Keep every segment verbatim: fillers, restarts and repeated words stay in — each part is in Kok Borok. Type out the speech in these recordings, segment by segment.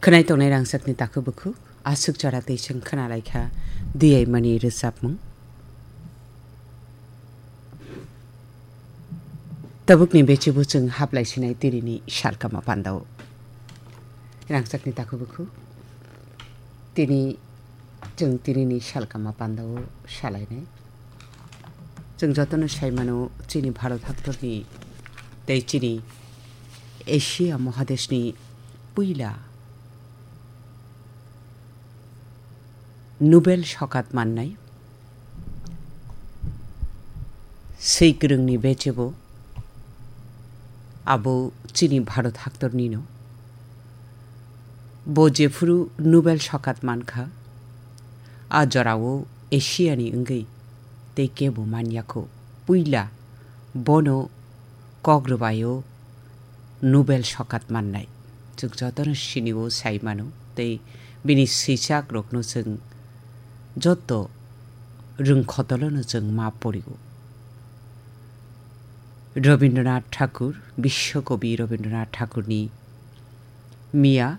Khwnai tongnai rangchakni takhuk bukhuk, aswk chara tei chwng khwnalaikha Diyaimani rwchapmung. Tabukni bechibo chwng haplai sinai tinini salkama pandao. Rangchakni takhuk bukhuk, tini chwng tinini salkama pandao salainai. Chwng jotono sai mano, chini Bharat haktorni tei chini Asia mohadeshni puila Nobel sokat mannai swi kwrwngni bechebo abo chini Bharat haktornino. Bo jephuru Nobel sokat mankha, a jorao Asiani wngwi tei kebo manyakho. Puila bono kok rwbaio Nobel sokat mannai. Chwng jotono sinio sai mano tei bini swichakrokno chwng joto rwngkhotolono chwng ma porio. Rabindranath Thakur, Biswakobi Rabindranath Thakurni miya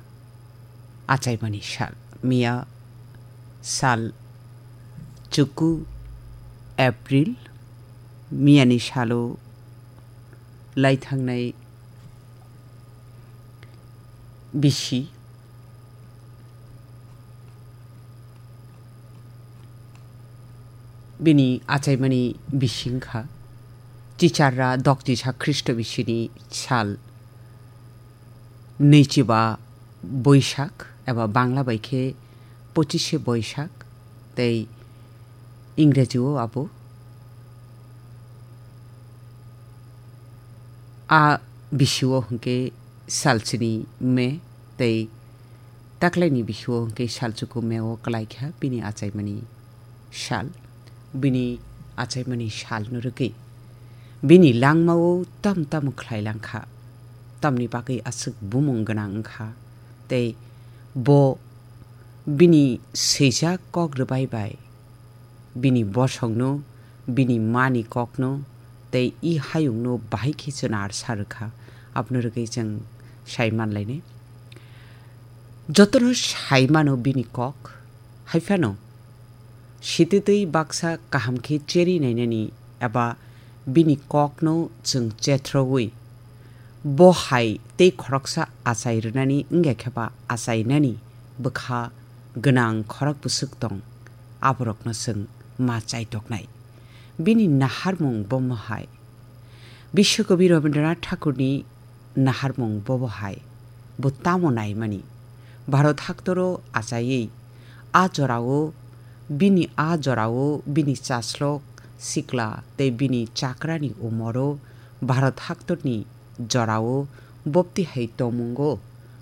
achaimani sal. Miya sal chuku April, miyani salo lai thangnai bisi bini achaimani bisi wngkha Chicharra Dokchisa Khristo bisini sal nwichiba Boisak eba Bangla bai khe pochishe Boisak tei Ingreji o abo. A bisio hwnkhe salchini May tei taklaini bisio hwnkhe salchuku May o kwlaikha bini achaimani sal. Bini achaimani salno rwgwi bini langmao tam tamo khlai langkha, tamni bagwi aswk bumung gwnang wngkha tei bo bini swijak kok rwbai bai bini bosongno, bini mani kokno tei i hayungno bahai khe chwnar sa rwkha, abono rwgwi chwng sai manlainai. Jotono sai mano bini kok, hai phano sititwi baksa kaham khe cheri nainani eba bini kokno chwng chethrogwi bo hai tei khoroksa achai rwnani wngya khe ba achainani bwkha gwnang khorok bwswk tong, aborokno chwng ma chaitoknai. Bini naharmung bomo hai. Biswakobi Rabindranath Thakurni naharmung bobo hai. Bo tamo naimani? Bharat haktoro achaiwi a jorao, bini a jorao bini chaslok sikla tei bini chakrani umoro Bharat haktorni jorao bopti hai tongmungo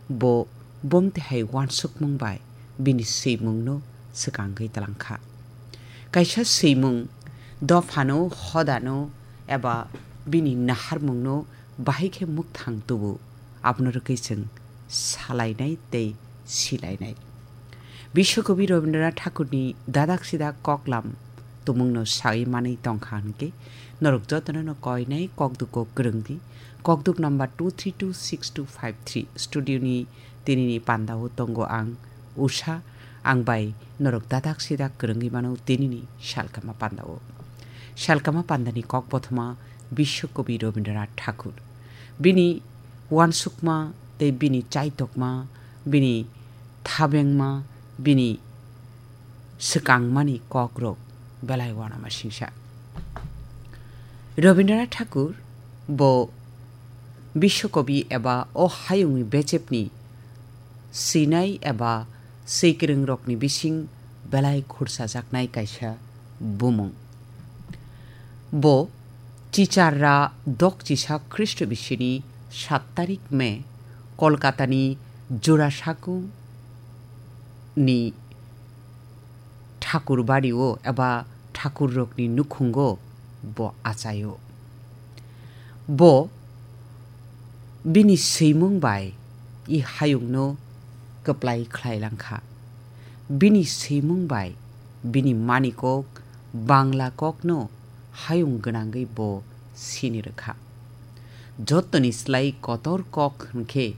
bo bomti hai uansukmung bai bini swimungno swkangwi twlangkha. Kaisa swimung dophano, hodano eba bini naharmungno bahai khe mukthang tubu, abono rwgwi chwng salainai tei silainai. Biswakobi Rabindranath Thakurni dadak sidak koklam tumungno sawi manwi tongkha hwnkhe norok jotono no koinai kokduk kok kwrwngdi. Kokduk number two three two six two five three. Studio ni tinini pandao tongo ang Usha, ang bai norok dadak sidak kwrwngwi mano tinini salkama pandao. Salkama pandani kok bothoma Biswakobi Rabindranath Thakur. Bini uansukma tei bini chaitokma, bini thabengma, bini swkangmani kokrok belai uanama singsa. Rabindranath Thakur bo Biswakobi eba o hayungni bechepni swinai eba swikwrwngrokni bising belai khursajaknai kaisa bumung. Bo Chicharra Dokchisa Khristo bisini sat tarik May Kolkatani Jurasaku ni Thakur bario eba thakurrokni nukhungo bo achaio. Bo bini swimung bai i hayungno kwplai khlai langkha. Bini swimung bai bini manikok Bangla kokno hayung gwnangwi bo sini rwkha. Jottoni slai kotor kok hwnkhe